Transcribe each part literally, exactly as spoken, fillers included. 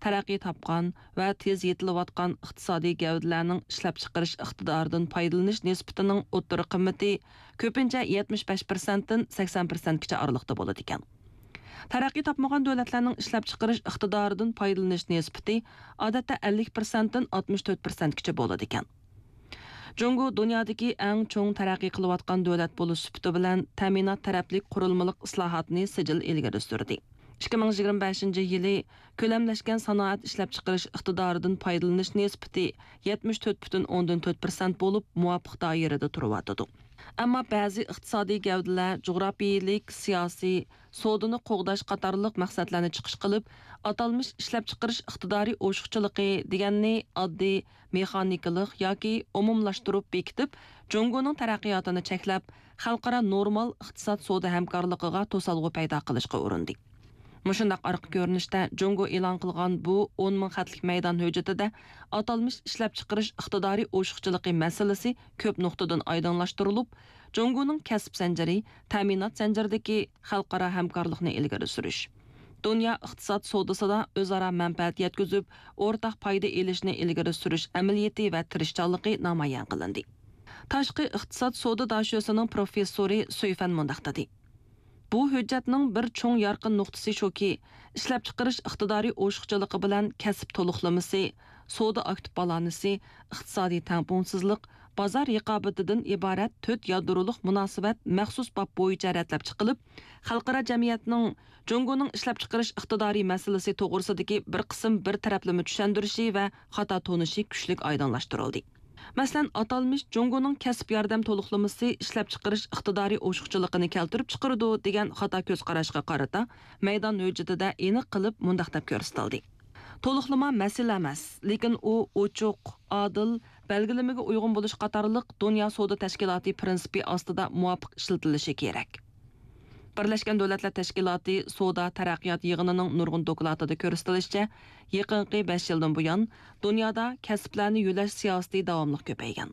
تەرەققىي تاپقان ۋە تېز يېتىلىۋاتقان ئىقتىسادىي گەۋدىلەرنىڭ ئىشلەپچىقىرىش ئىقتىدارىدىن پايدىلىنىش نىسبىتىنىڭ ئوتتۇرا قىممىتى كۆپىنچە يەتمىش بەش پىرسەنتتىن سەكسەن پىرسەنتكىچە ئارىلىقتا بولىدىكەن. تەرەققىي تاپمىغان دۆلەتلەرنىڭ ئىشلەپچىقىرىش ئىقتىدارىدىن پايدىلىنىش نىسبىتى ئادەتتە ئەللىك پىرسەنتتىن ئاتمىش تۆت پىرسەنتكىچە بولىدىكەن. جۇڭگو دۇنيادىكى ئەڭ چوڭ تەرەققىي قىلىۋاتقان دۆلەت بولۇش سۈپىتى بىلەن تەمىنات تەرەپلىك قۇرۇلمىلىق ئىسلاھاتنى سىجىل ئىلگىرى سۈردى. ئىككى مىڭ يىگىرمە بەشىنچى يىلى كۆلەملەشكەن سانائەت ئىشلەپچىقىرىش ئىقتىدارىدىن پايدىلىنىش نىسبىتى يەتمىش تۆت پۈتۈن ئوندىن تۆت پىرسەنت بولۇپ، مۇۋاپىق دائىرىدە تۇرۇۋاتىدۇ. ئەمما بەزى ئىقتىسادىي گەۋدىلەر جۇغراپىيىلىك، سىياسىي، سودىنى قوغداش قاتارلىق مەقسەتلەرنى چىقىش قىلىپ، ئاتالمىش ئىشلەپچىقىرىش ئىقتىدارى ئوشۇقچىلىقى دېگەننى ئاددىي مېخانىكىلىق ياكى ئومۇملاشتۇرۇپ بېكىتىپ، جۇڭگونىڭ تەرەققىياتىنى چەكلەپ، خەلقئارا نورمال ئىقتىساد سودا ھەمكارلىقىغا توسالغۇ پەيدا قىلىشقا ئۇرۇندى. مۇشۇنداق ئارقا كۆرۈنۈشتە جۇڭگو ئېلان قىلغان بۇ ئون مىڭ خەتلىك مەيدان ھۆججىتىدە ئاتالمىش ئىشلەپچىقىرىش ئىقتىدارى ئوشۇقچىلىقى مەسىلىسى كۆپ نۇقتىدىن ئايدىڭلاشتۇرۇلۇپ، جۇڭگونىڭ كەسىپ زەنجىرى، تەمىنات زەنجىرىدىكى خەلقئارا ھەمكارلىقنى ئىلگىرى سۈرۈش، دۇنيا ئىقتىساد سودىسىدا ئۆزئارا مەنپەئەت يەتكۈزۈپ، ئورتاق پايدا ئېلىشنى ئىلگىرى سۈرۈش ئەمەلىيىتى ۋە تىرىشچانلىقى نامايان قىلىندى. تاشقى ئىقتىساد سودا داشۆسىنىڭ پروفېسسورى سۈيفەن مۇنداق دېدى: بۇ ھۆججەتنىڭ بىر چوڭ يارقىن نۇقتىسى شۇكى، ئىشلەپچىقىرىش ئىقتىدارى ئوشۇقچىلىقى بىلەن كەسىپ تولۇقلىمىسى، سودا ئاكتىپ بالانسى، ئىقتىسادىي تەڭپۇڭسىزلىق، بازار رىقابىتىدىن ئىبارەت تۆت يادرولۇق مۇناسىۋەت مەخسۇس باب بويىچە رەتلەپ چىقىلىپ، خەلقئارا جەمئىيەتنىڭ جۇڭگونىڭ ئىشلەپچىقىرىش ئىقتىدارى مەسىلىسى توغرىسىدىكى بىر قىسىم بىر تەرەپلىمە چۈشەندۈرۈشى ۋە خاتا تونۇشى كۈچلۈك ئايدىڭلاشتۇرۇلدى. مەسىلەن، ئاتالمىش جۇڭگونىڭ كەسىپ ياردەم تولۇقلىمىسى ئىشلەپچىقىرىش ئىقتىدارى ئوشۇقچىلىقىنى كەلتۈرۈپ چىقىرىدۇ دېگەن خاتا كۆز قاراشقا قارىتا، مەيدان ھۆججىتىدە ئېنىق قىلىپ مۇنداق دەپ كۆرسىتىلدى: تولۇقلىما مەسىلە ئەمەس، لېكىن ئۇ ئوچۇق، ئادىل، بەلگىلىمىگە ئۇيغۇن بولۇش قاتارلىق دۇنيا سودا تەشكىلاتى پىرىنسىپى ئاستىدا مۇۋاپىق ئىشلىتىلىشى كېرەك. بىرلەشكەن دۆلەتلەر تەشكىلاتى سودا تەرەققىيات يىغىنىنىڭ نۇرغۇن دوكلاتىدا كۆرسىتىلىشىچە، يېقىنقى بەش يىلدىن بۇيان، دۇنيادا كەسىپلەرنى يۆلەش سىياسىتى داۋاملىق كۆپەيگەن.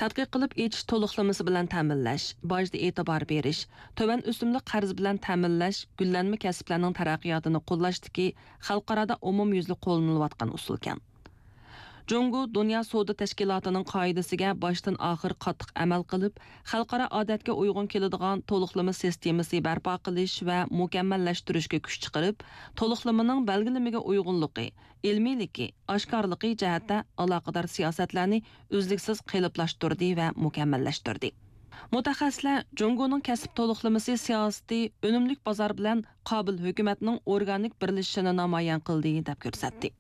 تەتقىق قىلىپ ئېچىش تولۇقلىمىسى بىلەن تەمىنلەش، باجدا ئېتىبار بېرىش، تۆۋەن ئۆسۈملۈك قەرز بىلەن تەمىنلەش گۈللەنمە كەسىپلەرنىڭ تەرەققىياتىنى قوللاشتىكى خەلقئارادا ئومۇميۈزلۈك قوللىنىلىۋاتقان ئۇسۇلكەن. جۇڭگو دۇنيا سودا تەشكىلاتىنىڭ قائىدىسىگە باشتىن ئاخىر قاتتىق ئەمەل قىلىپ، خەلقئارا ئادەتكە ئۇيغۇن كېلىدىغان تولۇقلىما سىستېمىسى بەرپا قىلىش ۋە مۇكەممەللەشتۈرۈشكە كۈچ چىقىرىپ، تولۇقلىمىنىڭ بەلگىلىمىگە ئۇيغۇنلۇقى، ئىلمىيلىكى، ئاشكارىلىقى جەھەتتە ئالاقىدار سىياسەتلەرنى ئۈزلۈكسىز قېلىپلاشتۇردى ۋە مۇكەممەللەشتۈردى. مۇتەخەسسىسلەر جۇڭگونىڭ كەسىپ تولۇقلىمىسى سىياسىتى ئۈنۈملۈك بازار بىلەن قابىل ھۆكۈمەتنىڭ ئورگانىك بىرلىشىشىنى نامايان قىلدى، دەپ كۆرسەتتى.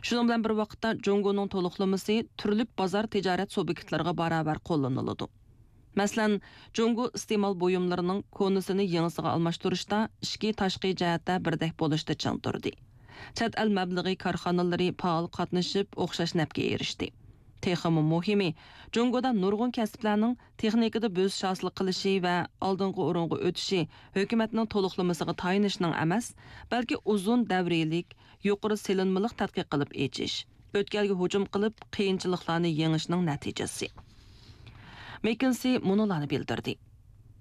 شۇنىڭ بىلەن بىر ۋاقىتتا، جۇڭگونىڭ تولۇقلىمىسى تۈرلۈك بازار تىجارەت سۇبيېكتلىرىغا باراۋەر قوللىنىلىدۇ. مەسىلەن، جۇڭگو ئىستېمال بۇيۇملىرىنىڭ كونىسىنى يېڭىسىغا ئالماشتۇرۇشتا ئىچكى، تاشقى جەھەتتە بىردەك بولۇشتا چىڭ تۇردى. چەت ئەل مەبلىغى كارخانىلىرى پائال قاتنىشىپ، ئوخشاش نەپكە ئېرىشتى. تېخىمۇ مۇھىمى، جۇڭگودا نۇرغۇن كەسىپلەرنىڭ تېخنىكىدا بۆسۈش ھاسىل قىلىشى ۋە ئالدىنقى ئورۇنغا ئۆتۈشى ھۆكۈمەتنىڭ تولۇقلىمىسىغا تايىنىشنىڭ ئەمەس، بەلكى ئۇزۇن دەۋرىيلىك، يۇقىرى سېلىنمىلىق تەتقىق قىلىپ ئېچىش، ئۆتكەلگە ھۇجۇم قىلىپ، قىيىنچىلىقلارنى يېڭىشنىڭ نەتىجىسى. مېككېنسى مۇنۇلارنى بىلدۈردى: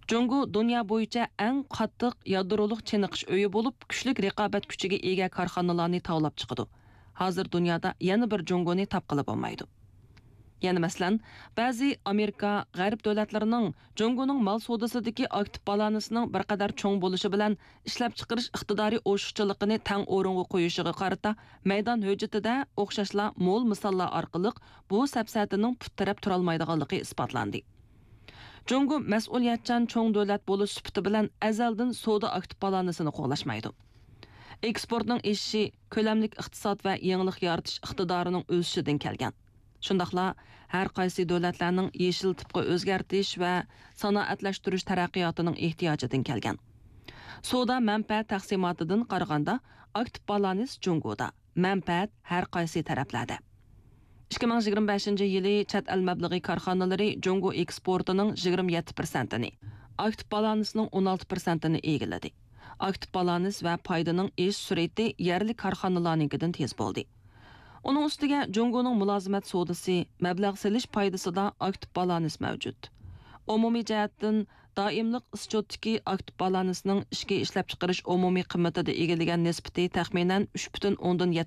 جۇڭگو دۇنيا بويىچە ئەڭ قاتتىق يادرولۇق چېنىقىش ئۆيى بولۇپ، كۈچلۈك رىقابەت كۈچىگە ئىگە كارخانىلارنى تاۋلاپ چىقىدۇ. ھازىر دۇنيادا يەنە بىر جۇڭگونى تاپقىلى بولمايدۇ. يەنە مەسىلەن، بەزى ئامېرىكا، غەرب دۆلەتلىرىنىڭ جۇڭگونىڭ مال سودىسىدىكى ئاكتىپ بالانسىنىڭ بىر قەدەر چوڭ بولۇشى بىلەن ئىشلەپچىقىرىش ئىقتىدارى ئوشۇقچىلىقىنى تەڭ ئورۇنغا قويۇشىغا قارىتا، مەيدان ھۆججىتىدە ئوخشاشلا مول مىساللار ئارقىلىق بۇ سەپسەتىنىڭ پۇت تىرەپ تۇرالمايدىغانلىقى ئىسپاتلاندى. جۇڭگو مەسئۇلىيەتچان چوڭ دۆلەت بولۇش سۈپىتى بىلەن ئەزەلدىن سودا ئاكتىپ بالانسىنى قوغلاشمايدۇ. ئېكسپورتنىڭ ئېشىشى كۆلەملىك ئىقتىساد ۋە يېڭىلىق يارىتىش ئىقتىدارىنىڭ ئۆسۈشىدىن كەلگەن. شۇنداقلا ھەر قايسى دۆلەتلەرنىڭ يېشىل تىپقا ئۆزگەرتىش ۋە سانائەتلەشتۈرۈش تەرەققىياتىنىڭ ئېھتىياجىدىن كەلگەن. سودا مەنپەئەت تەقسىماتىدىن قارىغاندا، ئاكتىپ بالانس جۇڭگودا، مەنپەئەت ھەر قايسى تەرەپلەردە. ئىككى مىڭ يىگىرمە بەشىنچى يىلى چەت ئەل مەبلىغى كارخانىلىرى جۇڭگو ئېكسپورتىنىڭ يىگىرمە يەتتە پىرسەنتىنى، ئاكتىپ بالانسنىڭ ئون ئالتە پىرسەنتىنى ئىگىلىدى. ئاكتىپ بالانس ۋە پايدىنىڭ ئېشىش سۈرئىتى يەرلىك كارخانىلارنىڭكىدىن تېز بولدى. ئۇنىڭ ئۈستىگە جۇڭگونىڭ مۇلازىمەت سودىسى، مەبلەغ سېلىش پايدىسىدا ئاكتىپ بالانس مەۋجۇت. ئومۇمىي جەھەتتىن، دائىملىق ئىسچوتتىكى ئاكتىپ بالانسنىڭ ئىچكى ئىشلەپچىقىرىش ئومۇمىي قىممىتىدە ئىگىلىگەن نىسبىتى تەخمىنەن ئۈچ پۈتۈن ئوندىن يەتتە